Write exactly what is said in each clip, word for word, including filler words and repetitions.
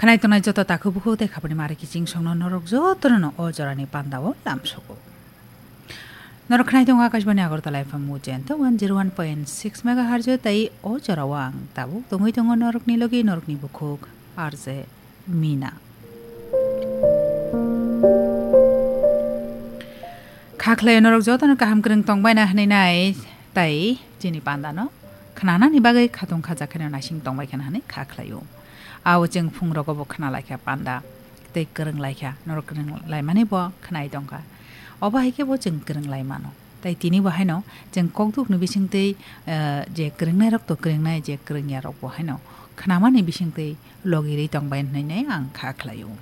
Khnai tongnai joto takhuk bukhuk tei khapani mari kiching songno norok jotono no o jorani pandao lamsogo. Norok khnai tongo Akashbani Agartala F M Mujento one zero one point six megahertz tei o jorao ang tabuk tongwi tongo norokni logi norokni bukhuk R J Mina. Kha khlai norok jotono kaham kwrwng tongbaina hwnwi nai tei chini pandano khnanani bagwi khatung khajakhaino naising tongbai khana hwnwi kha khlaio. Ao chwng phungrogo bo khna laikha panda tei kwrwng laikha, norok kwrwng laimani bo khnai tongkha. Obo hai khe bo chwng kwrwng lai mano. Tei tini bo haino chwng kokdukni bisingtwi, eh, je kwrwngnairok to kwrwngnai, je kwrwngya rok bo haino khnamani bisingtwi logirwi tongbai hwnwi ang kha khlaio.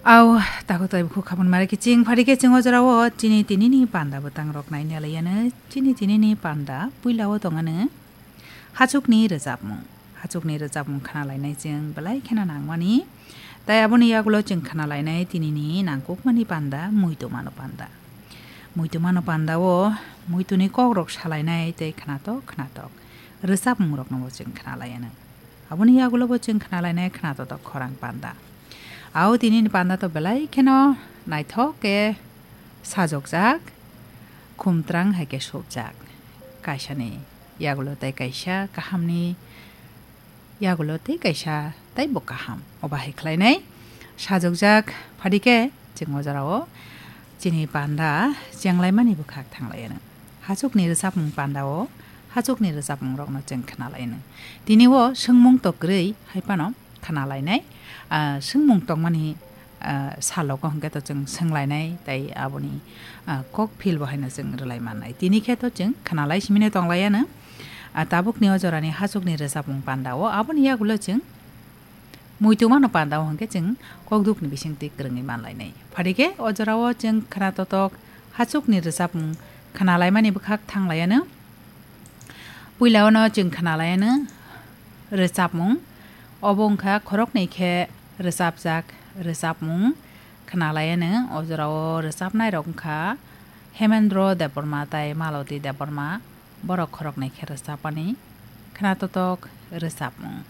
Au, takhuk tei bukhuk khabun mari kiching phari khe chwng o jorao chini tinini panda bwtang rok naina laiyano. Chini tinini panda puilao tongano hachukni rwchapmung. Hachukni rwchapmung khna lainai chwng belai kheno nangmani. Tai aboni yagulo chwng khna lainai tinini nangkukmani panda, muitumano panda. Muitumano pandao muituni kokrok salainai tei khnatok khnatok rwchapmungrokno bo chwng khna laiano. Aboni yagulo bo chwng khna lainai khna totok khorang panda. Ao tinini panda to belai kheno naithok khe sajokjak, khumtrang hai khe sopjak. Kaisani yagulo tei kaisa kahamni yagulo tei kaisa tei bo kaham. Obo hai khlainai sajokjak phadi khe chwng o jorao chini panda chenglaimani bwkhak thanglaiyano. Hachukni rwchapmung pandao hachukni rwchapmungrokno chwng khna laino. Tini o swngmung to kwrwi hai phano khna lainai. Ah, swngmung tongmani, ah, salogo hwnkhe to chwng swnglainai tei aboni, ah, kok phil bo haino chwng rwlai mannai. Tini khe to chwng khna lai simino tonglaiyano. Ah, tabukni o jorani hachukni rwchapmung pandao aboni yagulo chwng muitumano pandao hwnkhe chwng kokdukni bisingtwi kwrwngwi manlainai. Phadi khe o jorao chwng khna totok hachukni rwchapmung khna laimani bwkhak thanglaiyano. Puilao no chwng khna laiyano rwchapmung. Obo wngkha khoroknwi khe rwchapjak rwchapmung khna laiyano. O jorao rwchapnairok wngkha Hemendra Debbarma tei Maloti Debbarma. Borok khoroknwi khe rwchapmani khna totok rwchapmung.